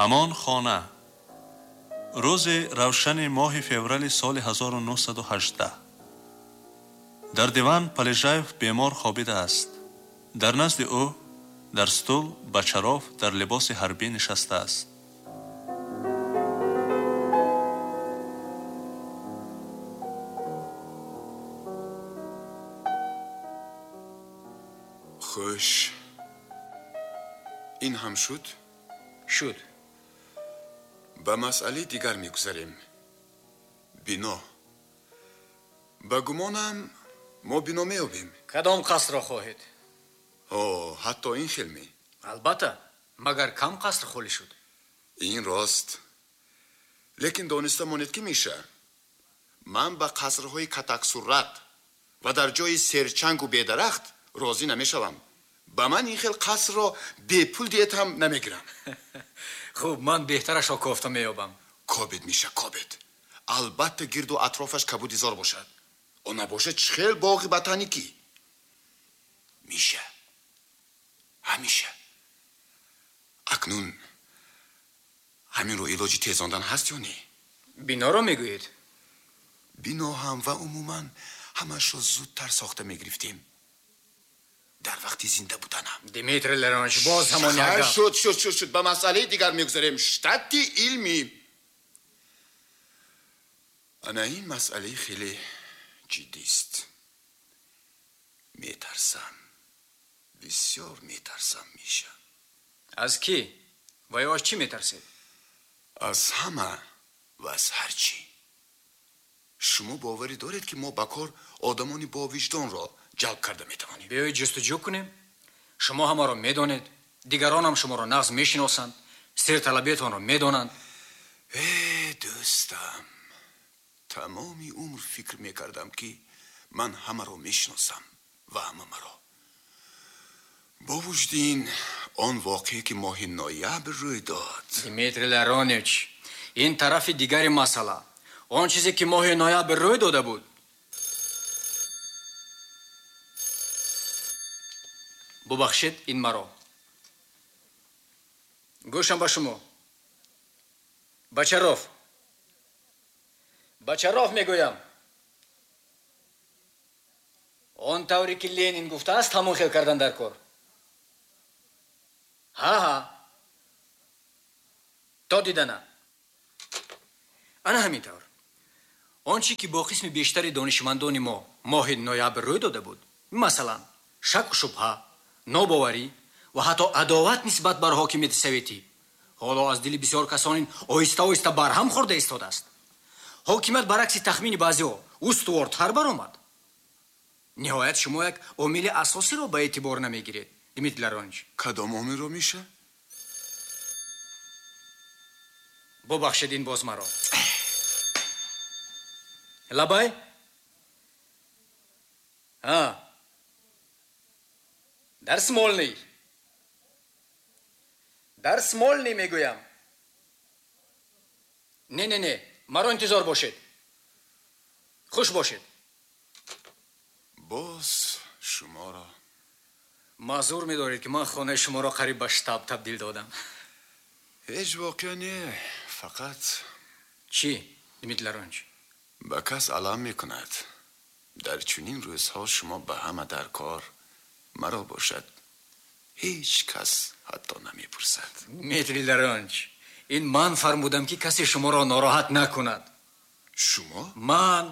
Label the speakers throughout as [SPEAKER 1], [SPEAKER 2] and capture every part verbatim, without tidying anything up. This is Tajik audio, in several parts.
[SPEAKER 1] Ҳамон хона. Рӯзи равшани моҳи феврали соли ҳазору нӯҳсаду ҳаждаҳ. Дар диван Полежаев бемор хобидааст. Дар назди ӯ дар стул Бочаров дар либоси ҳарбӣ нишастааст.
[SPEAKER 2] Хуш. Ин ҳам шуд?
[SPEAKER 3] Шуд.
[SPEAKER 2] Ба масъалаи дигар мегузарем. Бино. Ба гумонам мо бино меёбем.
[SPEAKER 3] Кадом қасрро хоҳед?
[SPEAKER 2] О, ҳатто ин хел ме?
[SPEAKER 3] Албатта, магар кам қаср холӣ шуд?
[SPEAKER 2] Ин рост. Лекин дониста монед ки Миша, ман ба қасрҳои катаксурат ва дар ҷои серчангу бедарахт розӣ намешавам. Ба ман ин хел қасрро бепул диет ҳам намегирам.
[SPEAKER 3] Хуб, ман беҳтарашро кофта меёбам.
[SPEAKER 2] Кобед, Миша, кобед. Албатта гирду атрофаш кабудизор бошад. О набошад чӣ хел боғи ботаникӣ. Миша, ҳамиша. Акнун ҳаминро илоҷи тезондан ҳаст ё не?
[SPEAKER 3] Биноро мегӯед?
[SPEAKER 2] Бино ҳам ва умуман ҳамашро зудтар сохта мегирифтем. Дар вақти зинда буданам.
[SPEAKER 3] Дмитрий Леронович, боз ҳамон як гап.
[SPEAKER 2] Шуд, шуд, шуд, шуд. Ба масъалаи дигар мегузарем. Штати илмӣ. Ана ин масъалаи хеле ҷиддист. Метарсам. Бисёр метарсам, Миша.
[SPEAKER 3] Аз кӣ? Ва ё аз чӣ метарсед?
[SPEAKER 2] Аз ҳама ва аз ҳар чӣ. Шумо боварӣ доред, ки мо ба кор одамони бовиҷдонро ҷалб карда метавонем?
[SPEAKER 3] Биёед ҷустуҷӯ кунем. Шумо ҳамаро медонед, дигаронам шуморо нағз мешиносанд, сирталабиятонро медонанд.
[SPEAKER 2] Э, дӯстам, тамоми умр фикр мекардам, ки ман ҳамаро мешиносам ва ҳама маро. Бо вуҷуди ин, он воқеа, ки моҳи ноябр рӯй дод.
[SPEAKER 3] Дмитрий Ларонович, ин тарафи дигари масъала. Он чизе, ки моҳи ноябр рӯй дода буд. Бубахшед ин маро. Гӯшам ба шумо. Бочаров. Бочаров мегӯям. Он тавре ки Ленин гуфтааст, ҳамон хел кардан дар кор. Ҳа-ҳа. То дидана. Ана ҳамин тавр. Он чӣ ки бо қисми бештари донишмандони мо моҳи ноябр рӯй дода буд, масалан, шаку шубҳа, нобоварӣ ва ҳатто адоват нисбат бар ҳокимияти советӣ, ҳоло аз дили бисёр касонин оҳиста-оҳиста барҳам хӯрда истодааст. Ҳокимият баръакси тахмини баъзеҳо устувортар баромад. Ниҳоят шумо як омили асосиро ба эътибор намегиред, Дмитрий Ларонович.
[SPEAKER 2] Кадом омилро, Миша?
[SPEAKER 3] Бубахшед ин боз маро. Лабай? Ҳа. Дар Смольный. Дар Смольный мегӯям. Не, не, не, маро интизор бошед. Хуш бошед.
[SPEAKER 2] Боз шуморо.
[SPEAKER 3] Маъзур медоред, ки ман хонаи шуморо қариб ба штаб табдил додам.
[SPEAKER 2] Ҳеҷ воқеа не, фақат.
[SPEAKER 3] Чӣ, Дмитрий Ларонович?
[SPEAKER 2] Ба кас алам мекунад. Дар чунин рӯзҳо шумо ба ҳама дар кор, маро бошад ҳеҷ кас ҳатто намепурсад.
[SPEAKER 3] Дмитрий Ларонович, ин ман фармудам, ки касе шуморо нороҳат накунад.
[SPEAKER 2] Шумо?
[SPEAKER 3] Ман.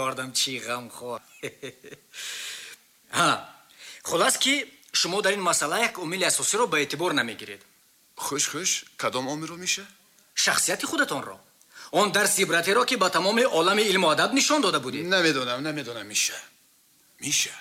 [SPEAKER 3] Ёрдамчии ғамхор. Ҳа, хулас ки шумо дар ин масъала як омили асосиро ба эътибор намегиред.
[SPEAKER 2] Хуш, хуш, кадом омилро, Миша?
[SPEAKER 3] Шахсияти худатонро. Он дарси ибратеро, ки ба тамоми олами илму адаб нишон дода будед.
[SPEAKER 2] Намедонам, намедонам, Миша. Миша,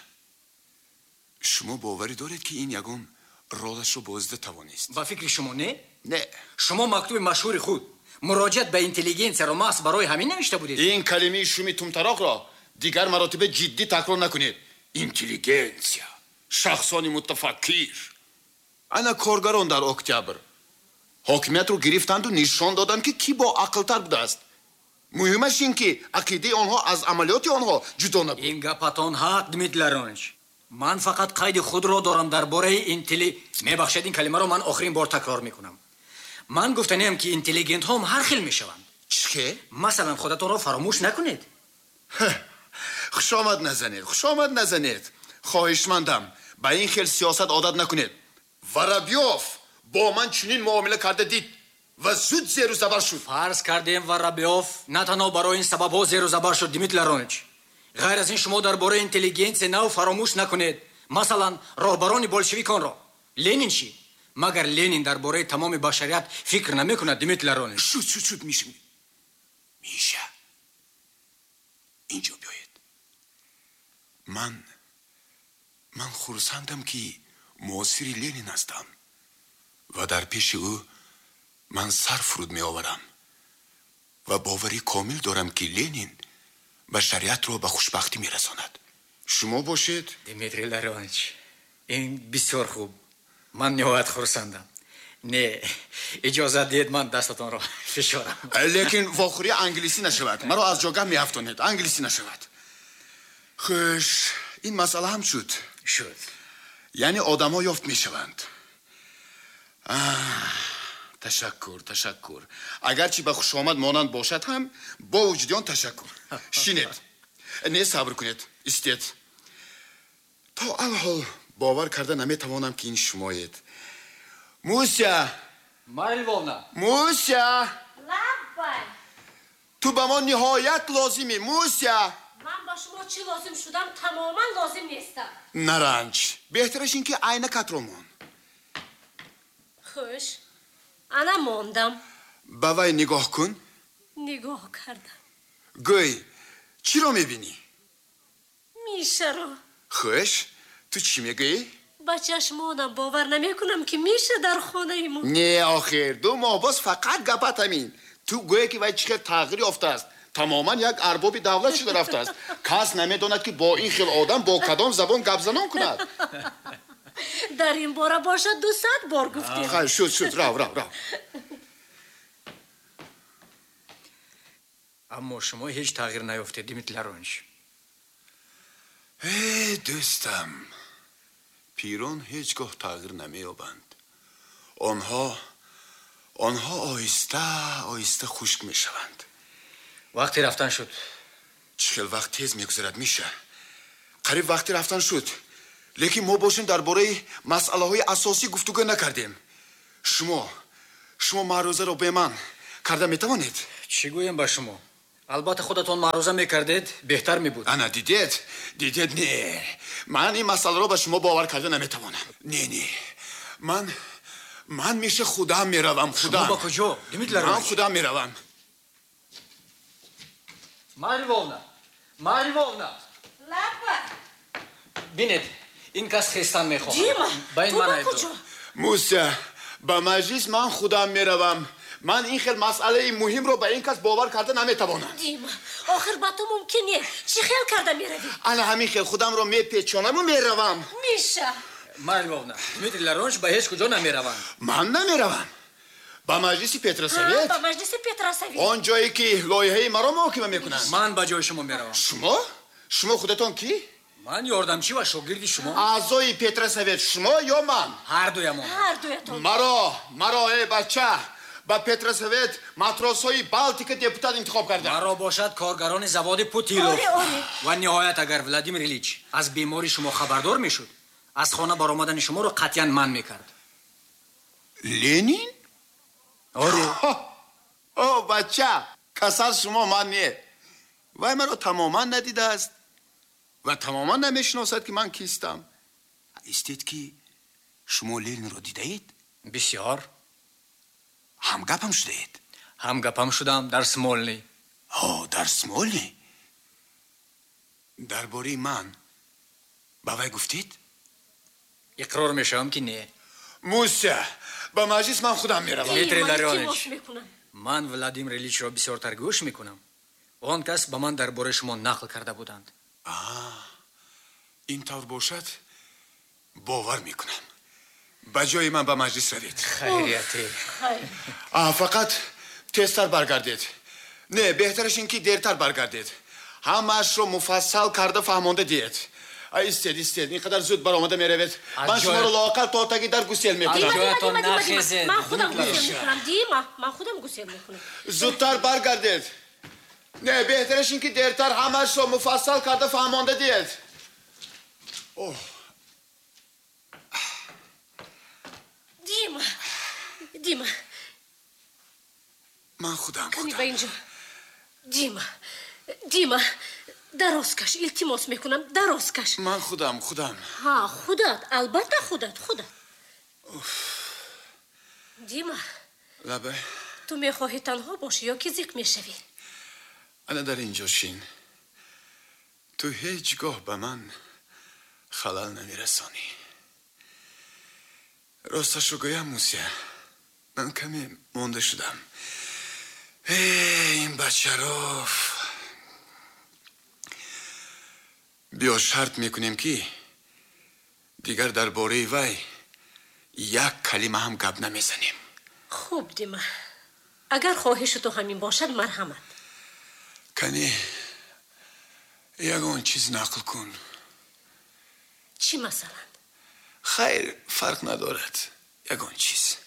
[SPEAKER 2] шумо боварӣ доред, ки ин ягон ролашро бозида тавонист?
[SPEAKER 3] Ба фикри шумо не?
[SPEAKER 2] Не.
[SPEAKER 3] Шумо мактуби машҳури худ муроҷиат ба интеллигенсияро маҳз барои ҳамин навишта будед?
[SPEAKER 2] Ин калимаи шуми тумтароқро дигар маротиба ҷиддӣ такрор накунед. Интеллигенсия, шахсони мутафаккир. Ана коргарон дар октябр ҳокимиятро гирифтанду нишон доданд, ки кӣ бо ақлтар будааст. Муҳимаш ин, ки ақидаи онҳо аз амалиёти онҳо ҷудо набуд.
[SPEAKER 3] Ин гапатон ҳақ, Дмитрий Ларонович. Ман фақат қайди худро дорам дар бораи интелли... Мебахшед, ин калимаро ман охирин бор такрор мекунам. Ман гуфтаниам, ки интеллигентҳо ҳам ҳар хел мешаванд.
[SPEAKER 2] Чӣ?
[SPEAKER 3] Масалан, худатонро фаромӯш накунед.
[SPEAKER 2] Хушомад назанед, хушомад назанед. Хоҳишмандам, ба ин хел сиёсат одат накунед. Воробьев бо ман чунин муомила карда дид ва зуд зеру забар шуд.
[SPEAKER 3] Фарз кардем, Воробьев на танҳо барои ин сабабҳо зеру забар шуд, Дмитрий Ларонович. Ғайр аз ин, шумо дар бораи интеллигентсия нав фаромӯш накунед. Масалан, роҳбарони болшевиконро. Ленин чӣ? Магар Ленин дар бораи тамоми башарият фикр намекунад, Дмитрий Ларонович?
[SPEAKER 2] Шуд, шуд, шуд, Миша. Миша, инҷо биёед. Ман ман хурсандам, ки муосири Ленин ҳастам ва дар пеши ӯ ман сар фуруд меоварам ва боварӣ комил дорам, ки Ленин башариятро ба хушбахтӣ мерасонад. Шумо бошед?
[SPEAKER 3] Дмитрий Ларонович, ин бисёр хуб. Ман ниҳоят хурсандам. Не, иҷозат диҳед, ман дастатонро фишорам.
[SPEAKER 2] Лекин вохӯрӣ англисӣ нашавад. Маро аз ҷогаҳ меафтонед. Англисӣ нашавад. Хуш, ин масъала ҳам шуд.
[SPEAKER 3] Шуд.
[SPEAKER 2] Яъне одамҳо ёфт мешаванд. Ташаккур, ташаккур. Агарчи ба хушомад монанд бошад ҳам, бо вуҷуди он ташаккур. Шинед. Не, сабр кунед, истед. То алҳол бовар карда наметавонам, ки ин шумоед. Муся!
[SPEAKER 3] Марья Львовна!
[SPEAKER 2] Муся!
[SPEAKER 4] Лаббай!
[SPEAKER 2] Ту ба мо ниҳоят лозимӣ, Муся!
[SPEAKER 4] Ман ба шумо чӣ лозим шудам, тамоман лозим нестам.
[SPEAKER 2] Наранҷ. Беҳтараш ин ки айнакатро мон.
[SPEAKER 4] Хуш, ана мондам.
[SPEAKER 2] Ба вай нигоҳ кун.
[SPEAKER 4] Нигоҳ кардам.
[SPEAKER 2] Гӯй, чиро мебинӣ?
[SPEAKER 4] Мишаро.
[SPEAKER 2] Хуш, ту чӣ мегӯӣ?
[SPEAKER 4] Ба чашмонам бовар намекунам, ки Миша дар хонаи мо.
[SPEAKER 2] Не, охир, ду моҳ боз фақат гапат ҳамин. Ту гӯе, ки вай чӣ хел тағйир ёфтааст. Тамоман як арбоби давлат шуда рафтааст. Кас намедонад, ки бо ин хел одам бо кадом забон гапзанон кунад.
[SPEAKER 4] Дар ин бора бошад дусад бор гуфтем.
[SPEAKER 2] Хайр, шуд, шуд, рав, рав, рав.
[SPEAKER 3] Аммо шумо ҳеҷ тағйир наёфтед, Дмитрий Ларонович.
[SPEAKER 2] Э, дӯстам, пирон ҳеҷ гоҳ тағйир намеёбанд. Онҳо онҳо оҳиста оҳиста хушк мешаванд.
[SPEAKER 3] Вақти рафтан шуд.
[SPEAKER 2] Чӣ хел вақт тез мегузарад, Миша. Қариб вақти рафтан шуд. Лекин мо бошем дар бораи масъалаҳои асосӣ гуфтугӯ накардем. Шумо шумо маърузаро бе ман карда метавонед?
[SPEAKER 3] Чӣ гӯем ба шумо? Албатта, худатон маъруза мекардед, беҳтар мебуд.
[SPEAKER 2] Ана, дидед? Дидед, не. Ман ин масъаларо ба шумо бовар карда наметавонам. Не, не. Ман ман Миша худам меравам, худам.
[SPEAKER 3] Шумо ба куҷо, Дмитрий Ларонович?
[SPEAKER 2] Ман худам меравам.
[SPEAKER 3] Марья Львовна! Марья Львовна!
[SPEAKER 4] Лапа!
[SPEAKER 3] Бинед, ин кас хестан мехоҳад.
[SPEAKER 4] Дима,
[SPEAKER 3] ба ин
[SPEAKER 4] ту
[SPEAKER 3] ман
[SPEAKER 4] ба
[SPEAKER 3] айбдор.
[SPEAKER 4] куҷо?
[SPEAKER 2] Муся, ба маҷлис ман худам меравам. Ман ин хел масъалаи муҳимро ба ин кас бовар карда наметавонам.
[SPEAKER 4] Дима, охир ба ту мумкин не. Чӣ хел карда меравӣ?
[SPEAKER 2] Ана ҳамин хел худамро мепечонаму меравам.
[SPEAKER 4] Миша!
[SPEAKER 3] Марья Львовна, Дмитрий Ларонович ба ҳеҷ куҷо намераванд.
[SPEAKER 2] Ман намеравам. Ба маҷлиси Петросовет.
[SPEAKER 4] Ба маҷлиси Петросовет.
[SPEAKER 2] Он ҷое ки лоиҳаи маро муҳокима мекунанд.
[SPEAKER 3] Ман ба ҷои шумо меравам.
[SPEAKER 2] Шумо? Шумо худатон кӣ?
[SPEAKER 3] Ман ёрдамчӣ ва шогирди шумо.
[SPEAKER 2] Аъзои Петросовет шумо ё ман?
[SPEAKER 3] Ҳар дуямон.
[SPEAKER 4] Ҳар дуятон.
[SPEAKER 2] Маро, маро, эй бача, ба Петросовет матросҳои Балтика депутат интихоб карданд.
[SPEAKER 3] Маро бошад коргарони заводи Путилов.
[SPEAKER 4] Оре, оре.
[SPEAKER 3] Ва ниҳоят, агар Владимир Ильич аз бемории шумо хабардор мешуд, аз хона баромадани шуморо қатъиян манъ мекард.
[SPEAKER 2] Ленин?
[SPEAKER 3] Оре.
[SPEAKER 2] О, бача, касал шумо, ман не. Вай маро тамоман надидааст ва тамоман намешиносад, ки ман кистам. Истед, ки шумо Ленинро дидаед?
[SPEAKER 3] Бисёр.
[SPEAKER 2] Ҳамгапам шудаед?
[SPEAKER 3] Ҳамгапам шудам дар Смольный.
[SPEAKER 2] О, дар Смольный? Дар бораи ман ба вай гуфтед?
[SPEAKER 3] Иқрор мешавам, ки не.
[SPEAKER 2] Муся, ба маҷлис ман худам меравам.
[SPEAKER 3] Дмитрий
[SPEAKER 4] Ман
[SPEAKER 3] Ларионович,
[SPEAKER 4] илтимос мекунам.
[SPEAKER 3] Ман Владимир Ильичро бисёртар гӯш мекунам. Он кас ба ман дар бораи шумо нақл карда буданд.
[SPEAKER 2] А, ин тавр бошад, бовар мекунам. Ба ҷои ман ба маҷлис равед.
[SPEAKER 3] Хайрияте.
[SPEAKER 4] Хайр.
[SPEAKER 2] А, фақат тезтар баргардед. Не, беҳтараш ин ки дертар баргардед. Ҳамаашро муфассал карда фаҳмонда диҳед. Истед, истед, ин қадар зуд баромада меравед. Ман шуморо лоақал то таги дар гусел мекунам.
[SPEAKER 3] Дима, Дима, Дима,
[SPEAKER 4] ман худам гусел мекунам. Дима, ман худам гусел мекунам.
[SPEAKER 2] Зудтар баргардед. Не, беҳтараш ин ки дертар ҳамаашро муфассал карда фаҳмонда диҳед. Оҳ.
[SPEAKER 4] Дима, Дима.
[SPEAKER 2] Ман худам, худам.
[SPEAKER 4] Кани ба инҷо. Дима, Дима, дароз каш, илтимос мекунам, дароз каш.
[SPEAKER 2] Ман худам, худам.
[SPEAKER 4] Ҳа, худат, албатта худат, худат. Дима.
[SPEAKER 2] Лабай.
[SPEAKER 4] Ту мехоҳӣ танҳо бошӣ ё ки зиқ мешавӣ?
[SPEAKER 2] Ана дар инҷо шин. Ту ҳеҷ гоҳ ба ман халал намерасонӣ. Росташро гӯям, Муся, ман каме монда шудам. Эй, ин Бачаров. Биё шарт мекунем ки дигар дар бораи вай як калима ҳам гап намезанем.
[SPEAKER 4] Хуб, Дима. Агар хоҳиши ту ҳамин бошад, марҳамат.
[SPEAKER 2] Кани ягон чиз нақл кун.
[SPEAKER 4] Чӣ масалан?
[SPEAKER 2] Хайр, фарқ надорад. Ягон чиз.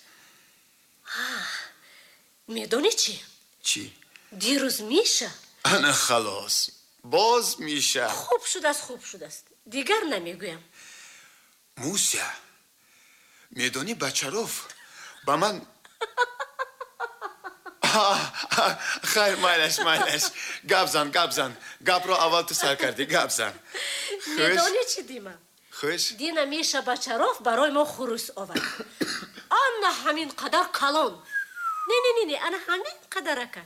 [SPEAKER 4] Медонӣ чӣ?
[SPEAKER 2] Чӣ?
[SPEAKER 4] Дирӯз Миша.
[SPEAKER 2] Ана халос. Боз Миша.
[SPEAKER 4] Хуб шудааст, хуб шудааст. Дигар намегӯям.
[SPEAKER 2] Муся, медонӣ Бачаров ба ман хайр, майлаш, майлаш. Гап зан, гап зан. Гапро аввал ту сар кардӣ, гап зан.
[SPEAKER 4] Медонӣ чӣ, Дима?
[SPEAKER 2] Хуш?
[SPEAKER 4] Дина Миша Бачаров барои мо хурус овард. Ана ҳамин қадар калон. Не, не, не, не, ана ҳамин қадарака.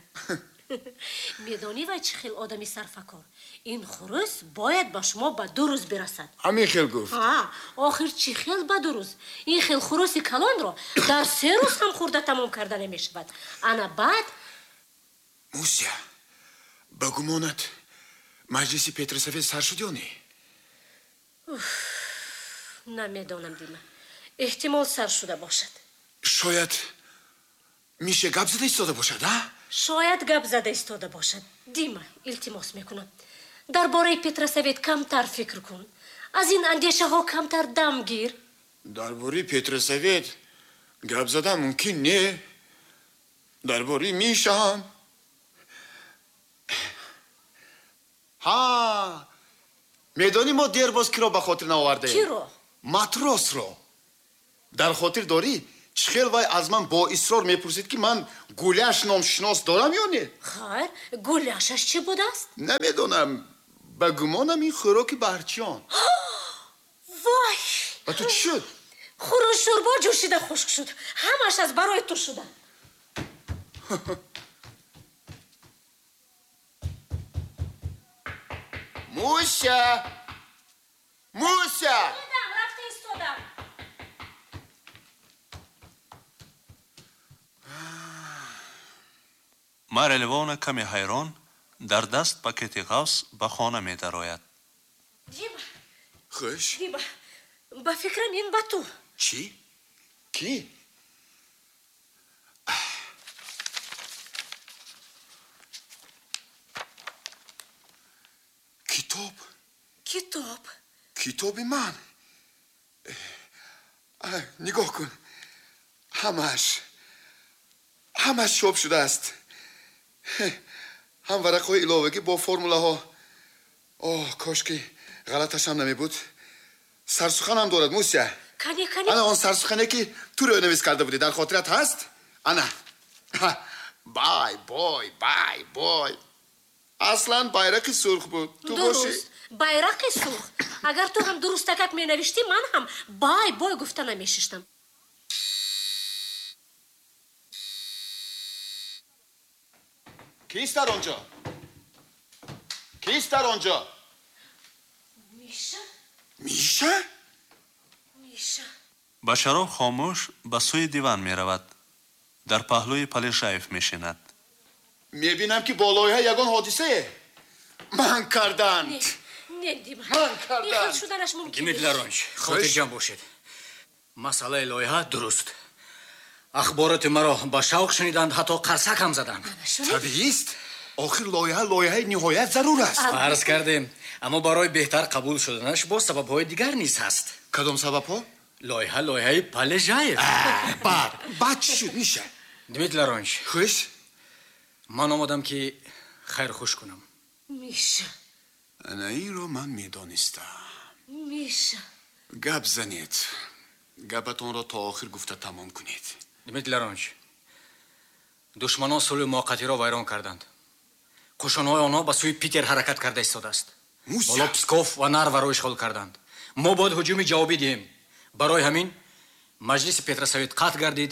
[SPEAKER 4] Медонӣ вай чӣ хел одами сарфакор? Ин хурус бояд ба шумо ба ду рӯз бирасад.
[SPEAKER 2] Ҳамин хел гуфт?
[SPEAKER 4] Ҳа, охир чӣ хел ба ду рӯз? Ин хел хуруси калонро дар се рӯз ҳам хӯрда тамом карда намешавад. Ана баъд
[SPEAKER 2] Муся, ба гумонат маҷлиси Петросовет сар шуд ё не?
[SPEAKER 4] Намедонам, Дима. Эҳтимол сар шуда бошад.
[SPEAKER 2] Шояд Миша гап зада истода бошад, а?
[SPEAKER 4] Шояд гап зада истода бошад. Дима, илтимос мекунам. Дар бораи Петросовет камтар фикр кун. Аз ин андешаҳо камтар дам гир.
[SPEAKER 2] Дар бораи Петросовет гап задан мумкин не. Дар бораи Миша ҳам. Ҳа, медонӣ мо дербоз киро ба хотир наовардаем?
[SPEAKER 4] Киро?
[SPEAKER 2] Матросро. Дар хотир дорӣ? Чӣ хел вай аз ман бо исрор мепурсид ки ман гуляш номшинос дорам ё не?
[SPEAKER 4] Хайр, гуляшаш чӣ будааст?
[SPEAKER 2] Намедонам. Ба гумонам ин хӯроки баҳрчиён.
[SPEAKER 4] Вой!
[SPEAKER 2] Ба ту чӣ шуд?
[SPEAKER 4] Хурӯш шӯрбо ҷӯшида хушк шуд. Ҳамаш аз барои ту шуда.
[SPEAKER 2] Муся! Муся!
[SPEAKER 4] Истодам, рафта истодам.
[SPEAKER 1] Марья Львовна каме ҳайрон дар даст пакети ғафс ба хона медарояд.
[SPEAKER 4] Дима!
[SPEAKER 2] Хуш?
[SPEAKER 4] Дима, ба фикрам ин ба ту.
[SPEAKER 2] Чӣ? Кӣ? Китоб?
[SPEAKER 4] Китоб.
[SPEAKER 2] Китоби ман. Нигоҳ кун. Ҳамаш. Ҳамаш чоп шудааст. Ҳам варақҳои иловагӣ бо формулаҳо. Оҳ, кош ки ғалаташ ҳам намебуд. Сарсуханам дорад, Муся.
[SPEAKER 4] Кани, кани.
[SPEAKER 2] Ана он сарсухане ки ту рӯйнавис карда будӣ, дар хотират ҳаст? Ана. Бай, бой, бай, бой. Аслан байрақи сурх буд. Ту бошӣ?
[SPEAKER 4] Дуруст, байрақи сурх. Агар ту ҳам дурустакак менавиштӣ, ман ҳам бай, бой гуфта намешиштам.
[SPEAKER 2] Кист дар онҷо? Кист дар онҷо?
[SPEAKER 4] Миша?
[SPEAKER 2] Миша?
[SPEAKER 4] Миша.
[SPEAKER 1] Бачаров хомӯш ба сӯи диван меравад. Дар паҳлӯи Полежаев мешинад.
[SPEAKER 2] Мебинам ки бо лоиҳа ягон ҳодисае. Ман карданд.
[SPEAKER 4] Не, не, Дима.
[SPEAKER 2] Ман карданд.
[SPEAKER 4] Ин хел шуданаш мумкин нест.
[SPEAKER 3] Дмитрий Ларонович, хотирҷамъ бошед. Масъалаи лоиҳа дуруст. Ахбороти маро ба шавқ шуниданд, ҳатто қарсак ҳам заданд.
[SPEAKER 2] Табиист. Охир лоиҳа лоиҳаи ниҳоят зарур аст.
[SPEAKER 3] Арз кардем, Аммо барои беҳтар қабул шуданаш боз сабабҳои дигар низ ҳаст.
[SPEAKER 2] Кадом сабабҳо?
[SPEAKER 3] Лоиҳа лоиҳаи Полежаев.
[SPEAKER 2] Баъд баъд чӣ шуд, Миша?
[SPEAKER 3] Дмитрий Ларонович.
[SPEAKER 2] Хуш?
[SPEAKER 3] Ман омадам ки хайрхуш кунам.
[SPEAKER 4] Миша.
[SPEAKER 2] Ана инро ман медонистам.
[SPEAKER 4] Миша.
[SPEAKER 2] Гап занед. Гапатонро то охир гуфта тамом кунед.
[SPEAKER 3] Дмитрий Ларонович, душманон сулҳи муваққатиро вайрон карданд. Қӯшунҳои онҳо ба сӯи Питер ҳаракат карда истодааст. Ҳоло Псков ва Нарваро ишғол карданд. Мо бояд ҳуҷуми ҷавобӣ диҳем. Барои ҳамин маҷлиси Петросовет қатъ гардид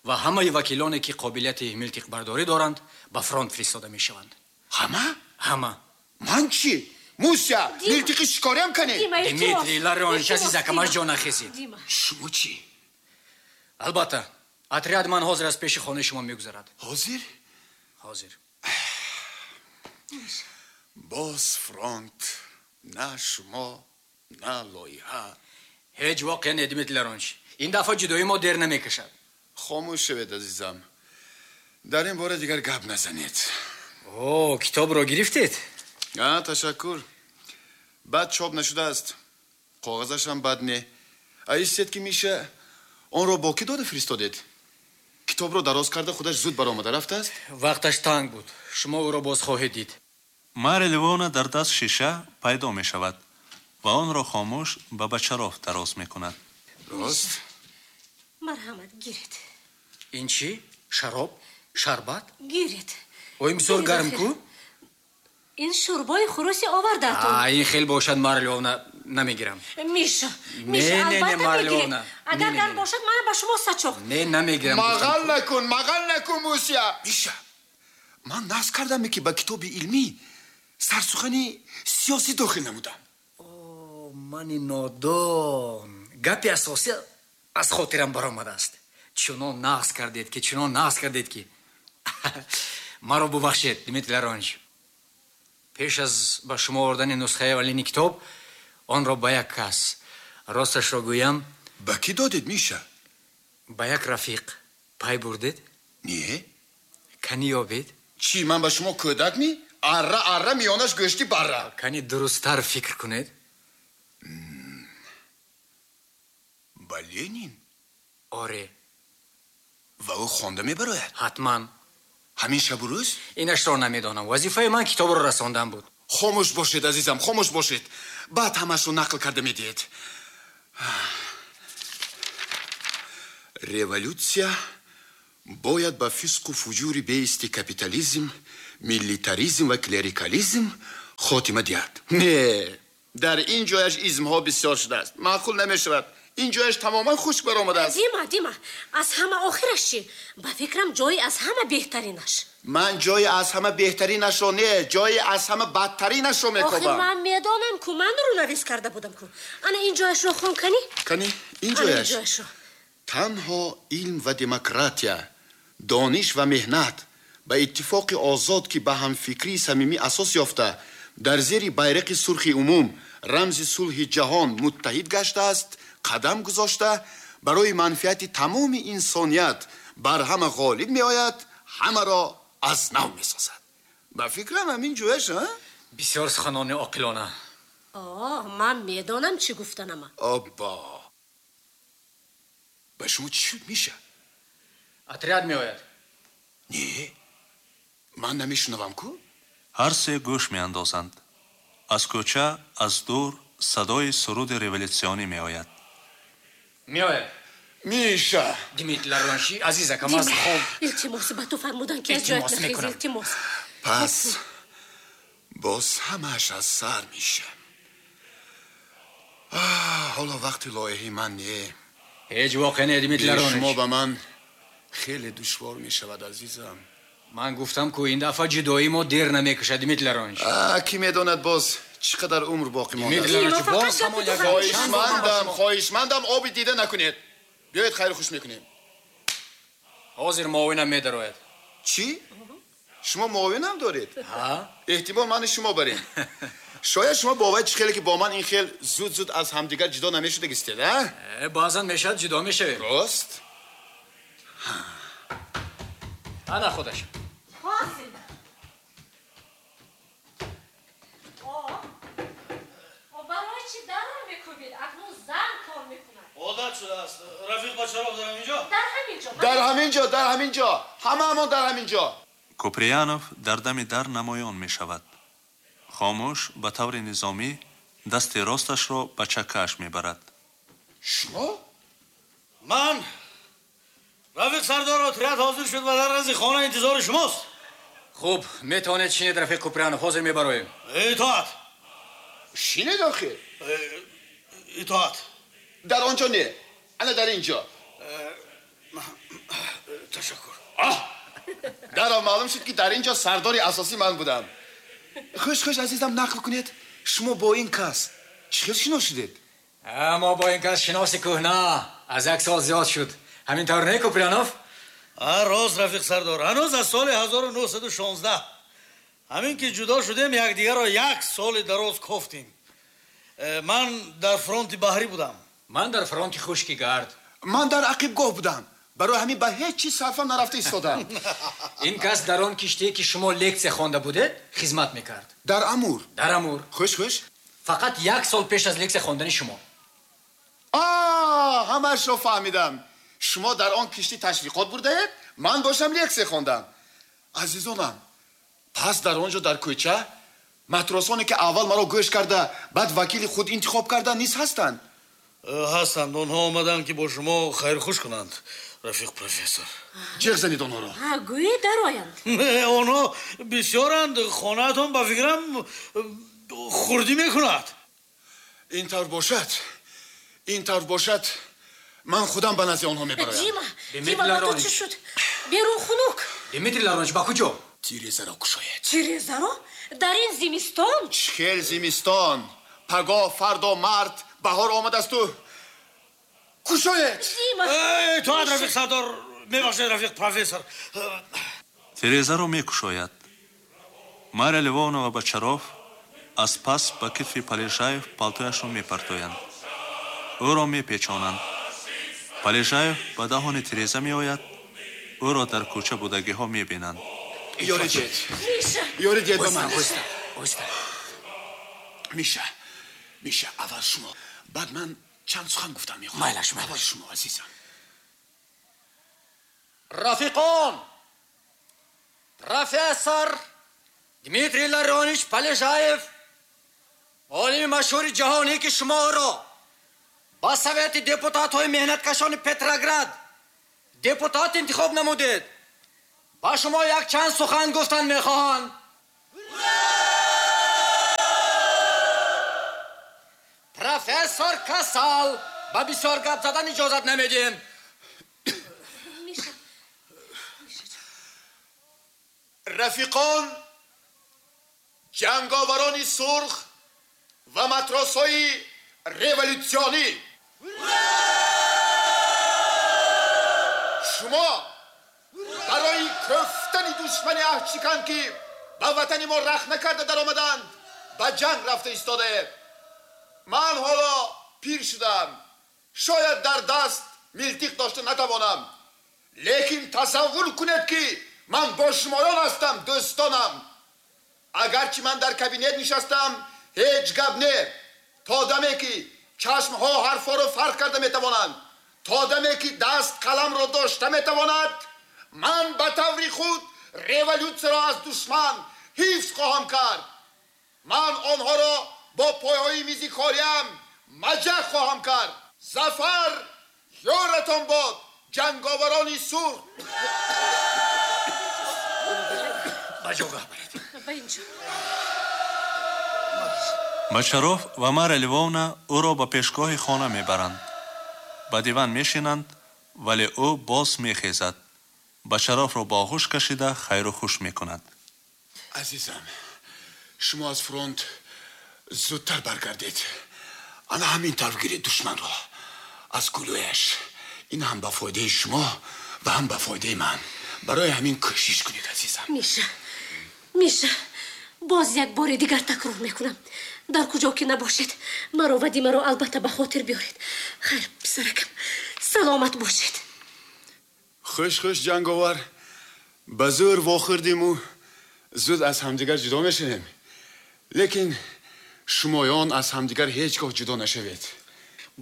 [SPEAKER 3] ва ҳамаи вакилоне ки қобилияти милтиқбардорӣ доранд ба фронт фиристода мешаванд.
[SPEAKER 2] Ҳама?
[SPEAKER 3] Ҳама.
[SPEAKER 2] Ман чӣ? Муся, милтиқи шикориам кане?
[SPEAKER 3] Дмитрий Ларионович, азизакамаш ҷо нахезид.
[SPEAKER 2] Шумо чӣ?
[SPEAKER 3] Албатта, отряд ман ҳозир аз пеши хонаи шумо мегузарад.
[SPEAKER 2] Ҳозир?
[SPEAKER 3] Ҳозир.
[SPEAKER 2] Боз фронт, на шумо, на лоиҳа.
[SPEAKER 3] Ҳеҷ воқеа не, Дмитрий Ларонович. Ин дафъа ҷудоии мо дер намекашад.
[SPEAKER 2] Хомӯш шавед, азизам. Дар ин бора дигар гап назанед.
[SPEAKER 3] О, китобро гирифтед?
[SPEAKER 2] А, ташаккур. Бад чоп нашудааст. Коғазашам бад не. А истед ки Миша онро бо кӣ дода фиристодед? Китобро дароз карда худаш зуд баромада рафтааст?
[SPEAKER 3] Вақташ танг буд. Шумо ӯро боз хоҳед дид.
[SPEAKER 1] Марья Львовна дар даст шиша пайдо мешавад ва онро хомӯш ба Бочаров дароз мекунад.
[SPEAKER 2] Рост?
[SPEAKER 4] Марҳамат, гиред.
[SPEAKER 3] Ин чӣ? Шароб? Шарбат?
[SPEAKER 4] Гиред.
[SPEAKER 3] Ой, бисёр гарм ку?
[SPEAKER 4] Ин шӯрбои хуруси овардаатон.
[SPEAKER 3] А, ин хел бошад, Марья Львовна, намегирам.
[SPEAKER 4] Миша, Миша, албатта мегиред. Агар гарм бошад, мана ба шумо сачоқ.
[SPEAKER 3] Не, намегирам.
[SPEAKER 2] Мағал накун, мағал накун, Муся. Миша, ман нақс кардам, ки ба китоби илмӣ сарсухани сиёсӣ дохил намудам.
[SPEAKER 3] О, мани нодон. Гапи асосӣ аз хотирам баромадааст. Чунон нақс кардед ки, чунон нақс кардед ки. Маро бубахшед, Дмитрий Ларонович. Пеш аз ба шумо овардани нусхаи аввалини китоб, онро ба як кас, росташро гӯям.
[SPEAKER 2] Ба кӣ додед, Миша?
[SPEAKER 3] Ба як рафиқ. Пай бурдед?
[SPEAKER 2] Не.
[SPEAKER 3] Кани ёбед?
[SPEAKER 2] Чӣ, ман ба шумо кӯдак ми? Арра, арра, миёнаш гӯшти барра.
[SPEAKER 3] Кани дурусттар фикр кунед.
[SPEAKER 2] Ба Ленин?
[SPEAKER 3] Оре.
[SPEAKER 2] Ва ӯ хонда мебарояд?
[SPEAKER 3] Ҳатман.
[SPEAKER 2] Ҳамин шабу рӯз?
[SPEAKER 3] Инашро намедонам. Вазифаи ман китобро расондан буд.
[SPEAKER 2] Хомӯш бошед, азизам, хомӯш бошед. Баъд ҳамашро нақл карда медиҳед. Революсия бояд ба фисқу фуҷури беисти капитализм, милитаризм ва клерикализм хотима диҳад. Не, дар ин ҷояш измҳо бисёр шудааст. Маъқул намешавад. Ин ҷояш тамоман хушк баромадааст.
[SPEAKER 4] Дима, Дима, аз ҳама охираш чӣ? Ба фикрам ҷои аз ҳама беҳтаринаш.
[SPEAKER 2] Ман ҷои аз ҳама беҳтаринашро не, ҷои аз ҳама бадтаринашро мекобам.
[SPEAKER 4] Охир ман медонам ку, ман рӯнавис карда будам ку. Ана ин ҷояшро хон кани?
[SPEAKER 2] Кани, ин ҷояш. Танҳо илм ва демократия, дониш ва меҳнат ба иттифоқи озод ки ба ҳамфикрии самимӣ асос ёфта, дар зери байрақи сурхи умум, рамзи сулҳи ҷаҳон муттаҳид гаштааст, қадам гузошта барои манфиати тамоми инсоният бар ҳама ғолиб меояд, ҳамаро аз нав месозад. Ба фикрам ҳамин ҷояш, а?
[SPEAKER 3] Бисёр суханони оқилона.
[SPEAKER 4] О, ман медонам чӣ гуфтанама.
[SPEAKER 2] Обба! Ба шумо чӣ шуд, Миша?
[SPEAKER 3] Отряд меояд.
[SPEAKER 2] Не, ман намешунавам ку?
[SPEAKER 1] Ҳар се гӯш меандозанд. Аз кӯча, аз дур садои суруди революсионӣ меояд.
[SPEAKER 3] Меояд.
[SPEAKER 2] Миша!
[SPEAKER 3] Дмитрий Ларонович, азизакам, аз хоб.
[SPEAKER 4] Илтимос, ба ту фармудан ки аз ҷоят нахез, илтимос.
[SPEAKER 2] Пас боз ҳамааш аз сар меша. Ҳоло вақти лоиҳаи ман не.
[SPEAKER 3] Ҳеҷ воқеа не, Дмитрий Ларонович.
[SPEAKER 2] Шумо ба ман хеле душвор мешавад, азизам.
[SPEAKER 3] Ман гуфтам ку ин дафъа ҷудоии мо дер намекашад, Дмитрий Ларонович.
[SPEAKER 2] Кӣ медонад боз чӣ қадар умр боқӣ мондааст.
[SPEAKER 3] Дмитрий Ларонович, боз ҳамон як
[SPEAKER 2] хоҳишмандам, хоҳишмандам, оби дида накунед. Биёед хайру хуш мекунем.
[SPEAKER 3] Ҳозир муовинам медарояд.
[SPEAKER 2] Чӣ? Шумо муовинам доред?
[SPEAKER 3] Ҳа?
[SPEAKER 2] Эҳтимол мани шумо барем. Шояд шумо бовар чӣ хеле ки бо ман ин хел зуд-зуд аз ҳамдигар ҷудо намешудагистед, а?
[SPEAKER 3] Баъзан мешавад ҷудо мешавем.
[SPEAKER 2] Рост?
[SPEAKER 3] Ана худаш.
[SPEAKER 4] Ҳозир. мекӯбид, акнун зан кор мекунад.
[SPEAKER 5] Одат шудааст. Рафиқ Бачаров дар ҳамин ҷо?
[SPEAKER 4] Дар ҳамин ҷо.
[SPEAKER 2] Дар ҳамин ҷо, дар ҳамин ҷо. Ҳамаамон дар ҳамин ҷо.
[SPEAKER 1] Куприянов дар дами дар намоён мешавад. Хомӯш ба таври низомӣ дасти росташро ба чакааш мебарад.
[SPEAKER 2] Шумо?
[SPEAKER 5] Ман. Рафиқ сардор, отряд ҳозир шуд ва дар назди хона интизори шумост.
[SPEAKER 3] Хуб, метавонед шинед, рафиқ Куприянов, ҳозир мебароем.
[SPEAKER 5] Итоат.
[SPEAKER 2] Шинед охир.
[SPEAKER 5] Итоат.
[SPEAKER 2] Дар он ҷо не, ана дар ин ҷо.
[SPEAKER 5] Ташаккур.
[SPEAKER 2] Даро маълум шуд, ки дар ин ҷо сардори асосӣ ман будам. Хуш хуш азизам, нақл кунед, шумо бо ин кас чӣ хел шинос шудед?
[SPEAKER 3] Мо бо ин кас шиноси кӯҳна, аз як сол зиёд шуд. Ҳамин тавр не, Куприянов?
[SPEAKER 5] Рост, рафиқ сардор, ҳанӯз аз соли ҳазору нӯҳсаду шонздаҳ. Ҳамин ки ҷудо шудем, якдигарро як соли дароз кофтем. Ман дар фронти баҳрӣ будам.
[SPEAKER 3] Ман дар фронти хушки гард.
[SPEAKER 2] Ман дар ақибгоҳ будам. Барои ҳамин ба ҳеҷ чиз сарфам нарафта истодам.
[SPEAKER 3] Ин кас дар он киштие ки шумо лексия хонда будед хизмат мекард.
[SPEAKER 2] Дар Амур.
[SPEAKER 3] Дар Амур.
[SPEAKER 2] Хуш хуш.
[SPEAKER 3] Фақат як сол пеш аз лексия хондани шумо.
[SPEAKER 2] А, ҳамаашро фаҳмидам. Шумо дар он киштӣ ташвиқот бурдаед, ман бошам лексия хондам. Азизонам, пас дар он ҷо дар кӯча матросоне ки аввал маро гӯш карда, баъд вакили худ интихоб карда низ ҳастанд.
[SPEAKER 5] Ҳастанд. Онҳо омаданд, ки бо шумо хайрхуш кунанд, рафиқ профессор.
[SPEAKER 2] Ҷеғ занед онҳоро.
[SPEAKER 4] Гӯӣ дароянд.
[SPEAKER 5] Онҳо бисёранд, хонаатон ба фикрам хурдӣ мекунад.
[SPEAKER 2] Ин тавр бошад, ин тавр бошад, ман худам ба назди онҳо мебароям.
[SPEAKER 4] Дима, Дима, ба ту чӣ шуд? Берун хунук.
[SPEAKER 3] Дмитрий Ларонович, ба куҷо?
[SPEAKER 2] Тирезаро кушоед.
[SPEAKER 4] Тирезаро? Дар ин зимистон?
[SPEAKER 2] Чӣ хел зимистон? Пагоҳ, фардо, март, баҳор омадасту. Кушоед!
[SPEAKER 4] Дима!
[SPEAKER 5] Итоат, рафиқ сардор. Мебахшед, рафиқ профессор.
[SPEAKER 1] Тирезаро мекушояд. Марья Львовна ва Бачаров аз пас ба китфи Полежаев палтояшро мепартоянд. Ӯро мепечонанд. Полежаев ба даҳони тиреза меояд, ӯро дар кӯча будагиҳо мебинанд.
[SPEAKER 2] Ёри дед.
[SPEAKER 4] Миша!
[SPEAKER 2] Ёри дед ба ман.
[SPEAKER 3] Оҳиста, оҳиста.
[SPEAKER 2] Миша, Миша, аввал шумо, баъд ман чанд сухан гуфтам мехоҳам.
[SPEAKER 3] Майлаш, майлаш.
[SPEAKER 2] Аввал шумо, азизам.
[SPEAKER 3] Рафиқон, профессор Дмитрий Ларионович Полежаев, олими машҳури ҷаҳонӣ, ки шуморо ба совети депутатҳои меҳнаткашони Петроград депутат интихоб намудед, ба шумо якчанд сухан гуфтан мехоҳанд. Профессор касал, ба бисёр гап задан иҷозат намедиҳем.
[SPEAKER 4] Миша,
[SPEAKER 2] рафиқон, ҷанговарони сурх ва матросҳои революсионӣ, шумо барои кӯфтани душмани аҳдшикан, ки ба ватани мо рахт накарда даромаданд, ба ҷанг рафта истодаед. Ман ҳоло пир шудам, шояд дар даст милтиқ дошта натавонам, лекин тасаввур кунед, ки ман бо шумоён ҳастам, дӯстонам. Агарчи ман дар кабинет нишастам, ҳеҷ гап не. То даме ки чашмҳо ҳарфҳоро фарқ карда метавонанд, то даме ки даст қаламро дошта метавонад, ман ба таври худ революсияро аз душман ҳифз хоҳам кард. Ман онҳоро бо пойҳои мизи кориам маҷаҳ хоҳам кард. Зафар ёратон бод, ҷанговарони сурх.
[SPEAKER 3] Ба ҷогаҳ баред.
[SPEAKER 4] Ба инҷо.
[SPEAKER 1] Бачаров ва Марья Львовна ӯро ба пешгоҳи хона мебаранд. Ба диван мешинанд, вале ӯ боз мехезад. Бачаровро ба оғӯш кашида хайру хуш мекунад.
[SPEAKER 2] Азизам, шумо аз фронт зудтар баргардед. Ана ҳамин тавр гиред душманро аз гулӯяш. Ин ҳам ба фоидаи шумо ва ҳам ба фоидаи ман. Барои ҳамин кӯшиш кунед, азизам.
[SPEAKER 4] Миша, Миша, боз як бори дигар такрор мекунам. Дар куҷо ки набошед, маро ва Димаро албатта ба хотир биёред. Хайр, писаракам, саломат бошед.
[SPEAKER 2] Хуш хуш, ҷанговар. Ба зӯр вохӯрдиму зуд аз ҳамдигар ҷудо мешавем. Лекин Шумоён аз ҳамдигар ҳеҷ гоҳ ҷудо нашавед.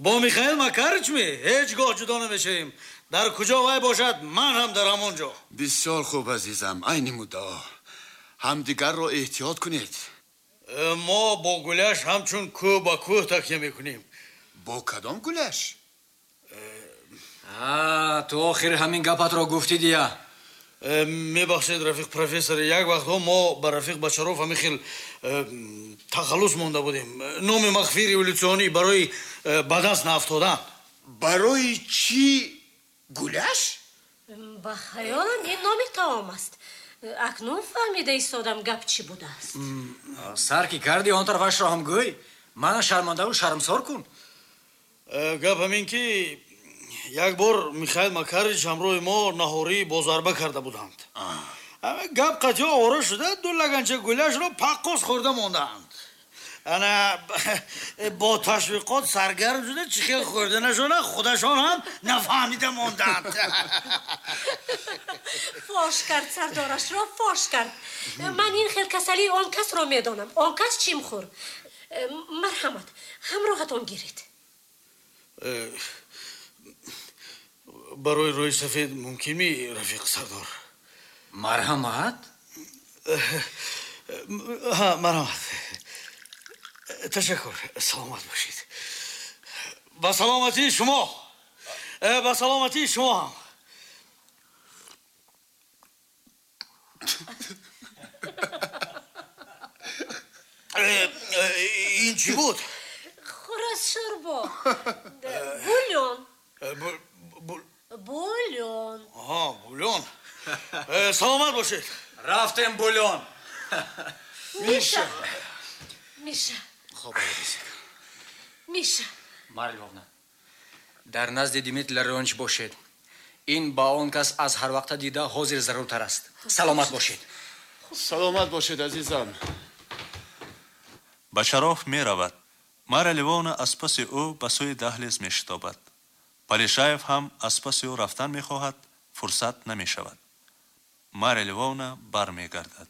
[SPEAKER 5] Бо Михаил Макарич ми ҳеҷ гоҳ ҷудо намешавем. Дар куҷо вай бошад, ман ҳам дар ҳамон ҷо.
[SPEAKER 2] Бисёр хуб, азизам, айни муддао. Ҳамдигарро эҳтиёт кунед.
[SPEAKER 5] Мо бо гуляш ҳамчун кӯҳ ба кӯҳ такя мекунем.
[SPEAKER 2] Бо кадом гуляш?
[SPEAKER 3] Ту охир ҳамин гапатро гуфтӣ дия.
[SPEAKER 5] Мебахшед, рафиқ профессор, як вақтҳо мо ба рафиқ Бачаров ҳамин хел тахаллус монда будем. Номи махфии революционӣ барои ба даст наафтодан.
[SPEAKER 2] Барои чӣ гуляш?
[SPEAKER 4] Ба хаёлам ин номи таом аст. Акнун фаҳмида истодам гап чӣ будааст.
[SPEAKER 3] Сар ки кардӣ, он тарафашро ҳам гӯй. Мана шармандаву шармсор кун.
[SPEAKER 5] Гап ҳамин ки як бор Михаил Макарич ҳамроҳи мо наҳорӣ бозарба карда буданд. Гап қатъиё ора шуда, ду лаганча гуляшро паққос хӯрда мондаанд. Ана бо ташвиқот саргарм шуда, чӣ хел хӯрда нашона, худашон ҳам нафаҳмида монданд.
[SPEAKER 4] Фош кард сардорашро, фош кард. Ман ин хел касалии он касро медонам. Он кас чимхӯр. Марҳамат, ҳамроҳатон гиред.
[SPEAKER 5] Барои рӯи сафед мумкин ми, рафиқ сардор?
[SPEAKER 3] Марҳамат?
[SPEAKER 5] Ҳа, марҳамат. Ташаккур, саломат бошед. Ба саломатии шумо, ба саломатии шумо ҳам. Ин чӣ буд?
[SPEAKER 4] Хӯраз шӯрбо. Бульон. Бульон.
[SPEAKER 5] Аҳа, бульон. Саломат бошед.
[SPEAKER 3] Рафтем бульон.
[SPEAKER 4] Миша. Миша.
[SPEAKER 2] Хоб,
[SPEAKER 4] Миша.
[SPEAKER 3] Марья Львовна, дар назди Дмитрий Ларионович бошед. Ин ба он кас аз ҳар вақта дида ҳозир заруртар аст. Саломат бошед.
[SPEAKER 2] Саломат бошед, азизам.
[SPEAKER 1] Бачаров меравад. Марья Львовна аз паси ӯ ба сӯи даҳлез мешитобад. Полежаев ҳам аз паси ӯ рафтан мехоҳад, фурсат намешавад. Марья Львовна бармегардад.